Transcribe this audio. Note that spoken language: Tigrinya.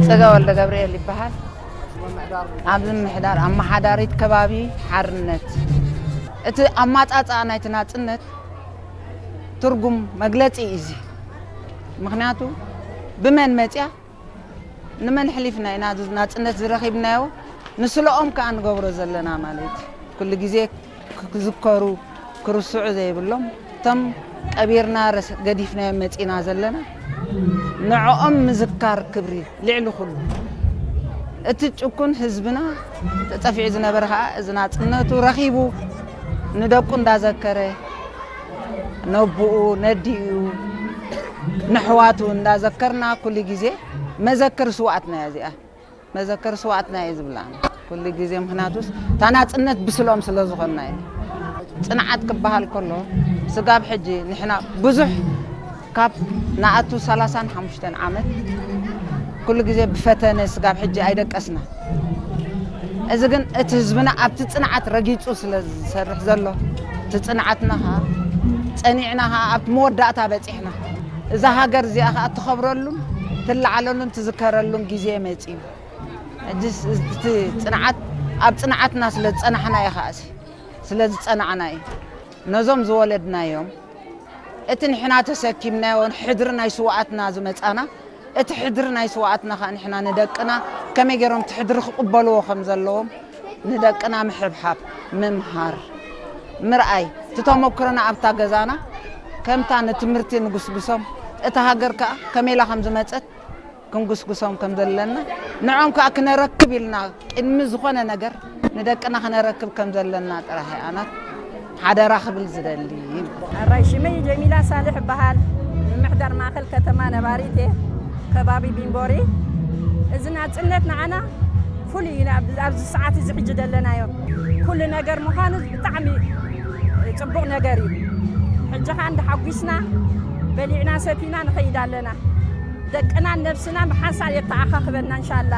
ጸጋ ወልደ ገብርኤል ይበሃል። ኣብዚ ምምሕዳር ኣመሓዳሪት ከባቢ ሓርነት፣ እቲ ኣማጻጽኣ ናይቲ ናጽነት ትርጉም መግለጺ እዩ እዚ። ምኽንያቱ ብመን መጽያ፣ ንመን ሕሊፍና ኢና እዚ ናጽነት ዝረኺብናዮ? ንስለኦም ከኣ ንገብሮ ዘለና ማለት ኩሉ ግዜ ክዝከሩ፣ ክርስዑ ዘይብሎም፣ እቶም ቀቢርና ረስ-፣ ገዲፍናዮም መጺና ዘለና፣ ንዕኦም ምዝካር ክብሪ ልዕሊ ኩሉ። እቲ ጭኩን ህዝብና ተጸፊዑ ዝነበረ ከኣ እዚ ናጽነቱ ረኺቡ፣ ንደቁ እንዳዘከረ፣ ነቡኡ፣ ነዲኡ፣ ንሕዋቱ እንዳዘከርና ኩሉ ግዜ መዘክር ስውኣትና እያ እዚኣ። መዘከር ስውኣትና እየ ዝብላ ኩሉ ግዜ። ምኽንያቱስ እታ ናጽነት ብስሎም ስለ ዝኾንና እዩ። ጽንዓት ክበሃል ከሎ ስጋብ ሕጂ ንሕና ብዙሕ ካብ ንኣቱ ሰላሳን ሓሙሽተን ዓመት ኩሉ ግዜ ብፈተነ ስጋብ ሕጂ ኣይደቀስና። እዚ ግን እቲ ህዝብና ኣብቲ ጽንዓት ረጊጹ ስለ ዝሰርሕ ዘሎ፣ እቲ ጽንዓትና ኸኣ ጸኒዕና ኸኣ ኣብቲ መወዳእታ በጺሕና። እዛ ሃገር እዚኣ ኸኣ ትኸብረሉን ትለዓለሉን ትዝከረሉን ግዜ መጺኡ። ሕጂ እቲ ጽንዓት ኣብ ጽንዓትና ስለ ዝጸናሕና እዩ ኸኣ፣ ስለ ዝጸናዕና እዩ። ነዞም ዝወለድናዮም እቲ ንሕና ተሰኪምናዮ ሕድሪ ናይ ስውኣትና ዝመጻና፣ እቲ ሕድሪ ናይ ስውኣትና ኸኣ ንሕና ንደቅና ከመይ ገይሮም እቲ ሕድሪ ክቕበልዎ ከም ዘለዎም ንደቅና ምሕብሓብ፣ ምምሃር፣ ምርኣይ፣ እቲ ተመክሮና ኣብታ ገዛና ከምታ ንትምህርቲ ንጉስጉሶም፣ እታ ሃገር ከኣ ከመይ ኢላ ከም ዝመጸት ክንጉስጉሶም ከም ዘለና፣ ንዖም ከኣ ክነረክብ ኢልና ቅድሚ ዝኾነ ነገር ንደቅና ክነረክብ ከም ዘለና ጥራሕ እየ ኣናት ሓደራ ክብል ዝደሊ። ኣራይ ሽመይ ጀሚላ ሳልሕ እበሃል። ምምሕዳር ማእከል ከተማ ነባሪት እየ፣ ከባቢ ቢምቦሪ። እዚ ናጽነት ንዓና ፍሉይ እዩ፣ ናብ-፣ ኣብዚ ሰዓት እዚ ሕጂ ዘለናዮ። ኩሉ ነገር ምዃኑ ብጣዕሚ ጽቡቕ ነገር እዩ። ሕጂ ኸኣ እንዳሓጒስና በሊዕና ሰቲና ንኸይድ ኣለና። ደቅናን ነብስናን ብሓንሳብ የተኣኻኽበና እንሻላ።